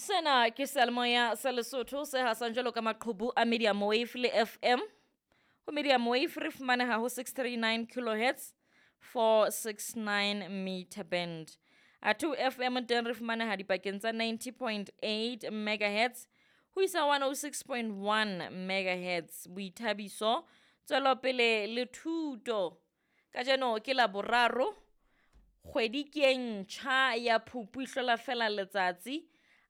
Sena ke seyalemoya sa Lesotho se hasang jwalo ka maqhubu a Medium Wave le FM. Ho Medium Wave re fumaneha ho 639 kilohertz 469 meter band. Athe ho FM teng re fumaneha dipakeng tsa 90.8 megahertz ho isa 106.1 megahertz. Boithabiso, tswelopele le thuto. Kajeno ke la boraro, kgwedi ke e ntjha ya Phupu e hlola fela letsatsi.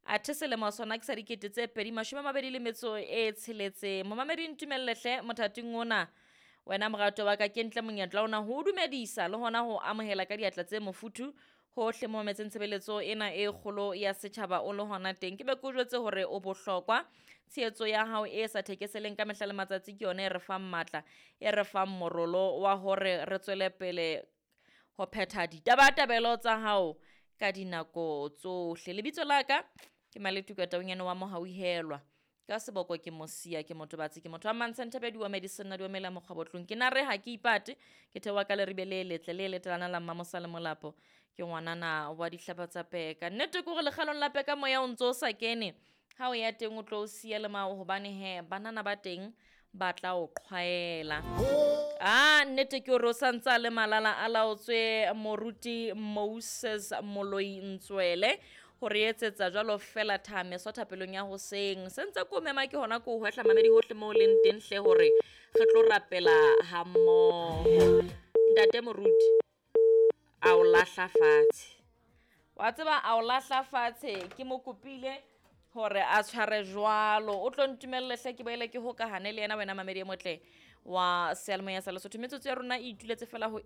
Athe selemo sona ke sa 2026. Momamedi ntumelle hle mothating ona wena morato wa ka ke ntle monyetla ona ho o dumedisa le hona ho amohela ka diatla tse mofuthu hohle mo mametseng tshebeletso ena e kgolo ya setjhaba o le hona teng. Ke be ke o jwetse hore o bohlokwa, tshehetso ya hao e sa thekeseleng ka mehla le matsatsi ke yona e re fang matla, e re fang morolo wa hore re tswele pele ho phetha ditabatabelo tsa hao ka dinako tsohle. Lebitso la ka ke Maletuka Taunyane wa Mohauhelwa, ka seboko ke Mosia, ke motobatsi, ke motho wa Mantshentebedi wa Medicine di omela mokgwabotlong. Ke nare ha ke ipate, ke theoha ka leribe le letle le letelana la Mmamosa le Molapo, ke ngwanana wa dihlaba tsa peka. Nnete ke hore lekgalong la peka moya o ntso o sa kene, ha o ya teng o tlo o siya le mao hobane hee banana ba teng ba tla o qhwaela. Ah, nnete ke hore o santsa le malala a laotswe moruti Moses Moloi Ntswele hore etsetsa jwalo fela thameso thapelong ya hoseng. Se ntse ko mema ke hona ko hwehla mamedi hohle moo leng teng hle hore re tlo rapela ha mmoho. Ntate moruti a o lahla fatshe, wa tseba a o lahla fatshe, ke mo kopile hore a tshware jwalo. O tlo ntumelle hle ke boele ke hokahane le yena wena mamedi e motle wa seyalemoya sa Lesotho. Metsotso ya rona e ituletse fela ho